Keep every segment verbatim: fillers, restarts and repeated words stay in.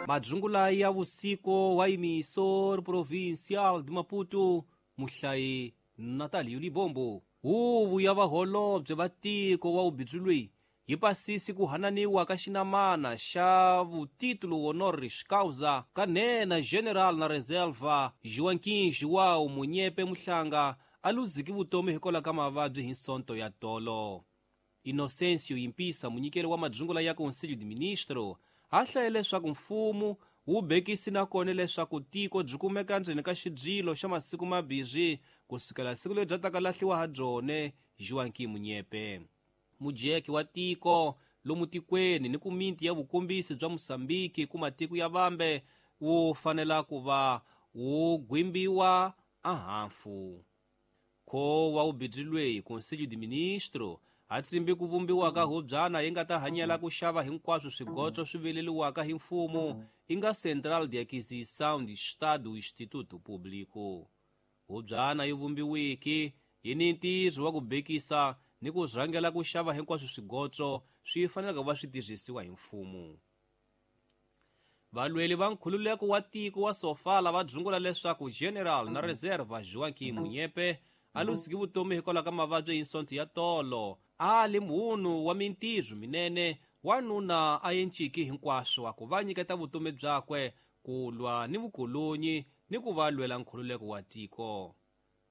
Madzungula ya vusiku wa Emissor Provincial de Maputo, muhlayi Natalio Libombo. Huvo ya vaholobye va tiko wa ubindzu yi pasisi ku hananiwa ka xinamana xa vutitulo honoris causa ka nhenha General na Reserva Joaquim João Munyepe Muhlanga a luziki vutomi hikwalaho ka mavabyi hi Sonto ya tolo. Inocencio Yimpisa, munyikeri wa madzungula ya Conselho de Ministro, a hlaye leswaku mfumo wu bekisi nakona leswaku tiko byi kumeka ndzeni ka xidyilo xa masiku mabirhi kusukela siku leri bya taka lahliwa ha byone Joaquim Munyepe. Mujeki wa tiko lomu tikweni ni ku miti ya vukombisi bya Mosambiki ku matiko ya vambe wu fanela ku va wu gwimbiwa ahafu. Kho wa ubindzu Conselho de Ministro a tsimbi ku vumbiwa ka hubyana yi nga ta hanyela ku xava hinkwaswo swigotso swi vileliwaka hi mfumo i nga Central de Aquisição de Estado Instituto Público. Hubyana yi vumbiwiki yi ni ntirho wa ku bekisa ni ku rhangela ku xava hinkwaswo swigotso swi fanelaka ku va swi tirhisiwa hi mfumo. Valweli va nkhululeko wa tiko wa Sofala va dzungula leswaku General na Reserva Joaquim Munyepe a luziki vutomi hikwalaho ka mavabyi hi Sonto ya tolo. A li munhu wa mintirho minene, wanuna a enciki hinkwaswo ku va nyiketa vutomi byakwe ku lwa ni vukolonyi ni ku va lwela nkhululeko wa tiko.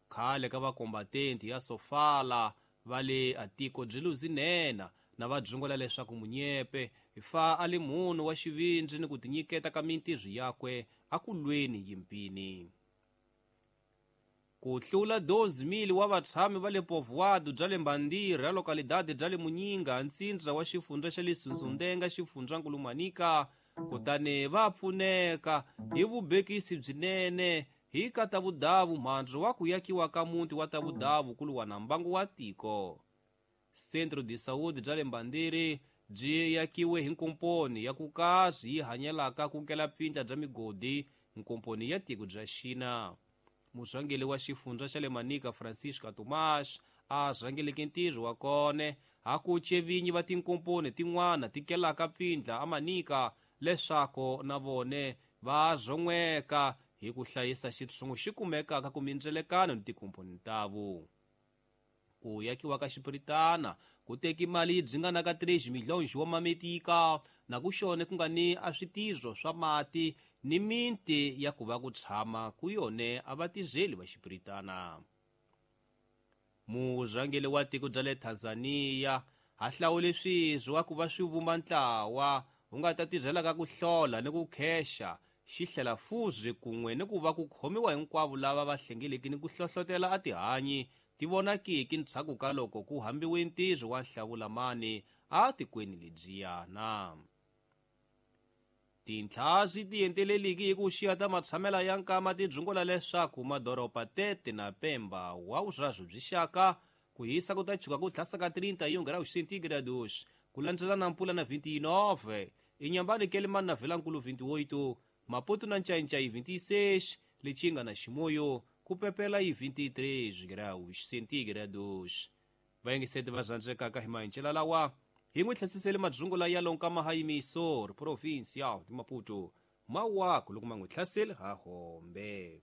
Khale ka vakombatenti ya Sofala va le a tiko byi luzinena na va dzungula leswaku Munyepe fa a li munhu wa xivindzi ni ku tinyiketa ka mintirho yakwe a ku lweni yimpini. Ku hlula doze mil wa vatshami va le Povoado bya le Mbandira, localidade bya le Munyinga, ntsindza wa xifundza xa le Sunsundenga, xifundzankulu Manica, kutani va pfuneka hi vubekisi byinene hi ka Tavudavu mhandzu wa ku yakiwa ka muti wa Tavudavu ku lwa na mbangu wa tiko. Centro de Saúde bya le Mbandiri byi yakiwe hi nkomponi ya ku kasi yi hanyelaka ku kela pfindla bya migodi, nkomponi ya tiko bya Xina. Murhangeri wa xifundza xa le Manica Francisca Tomás a rhangeleke ntirho wa kona ha ku cevinyi va tinkomponi tin'wana ti kelaka pfindla a Manica leswaku na vone va zon'weka hi ku hlayisa xitshungu xi kumekaka ku mindzelekano ni tinkomponi tavo. Ku yakiwa ka xipiritana ku teki mali yi dzingana três milhões wa mametika na ku xone ku nga ni a switirho swa mati ni minti ya ku va ku tshama ku yone a va tirheli va xipiritana. Murhangeri wa tiko bya le Tanzania ha hlawule swirho wa ku va swi vumba ntlawa wu nga ta tirhelaka ku hlola ni ku khexa xi hlela fuzi kun'we ni ku va ku khomiwa hinkwavo lava va hlengeleki ni ku hlohlotela a tihanyi ti vonakiki ndzhaku ka loko ku hambiwe ntirho wa nhlawulamani a tikweni lebyiyana. Tintlhasi ti enteleliki hi ku xiya ta matshamela ya nkama ti dzungula leswaku madoroba Tete na Pemba wa vuswazwo byi xaka ku hisa ku ta chuka ku tlhasa ka trinta e um graus centígrados ku landzela na Mpula na vinte e nove, Inhambane Quelimane na Vilankulu vinte e oito, Maputo na Nchainchai vinte e seis, Lichinga na Chimoio ku pepela yi vinte e três graus centígrados. Vayengiseti va zandzekaka hi mahencela lawa hi n'wi tlhasisele madzungula ya lonkama ha Emissor Provincial de Maputo mawaku loko ma n'wi hlaseli ha hombe.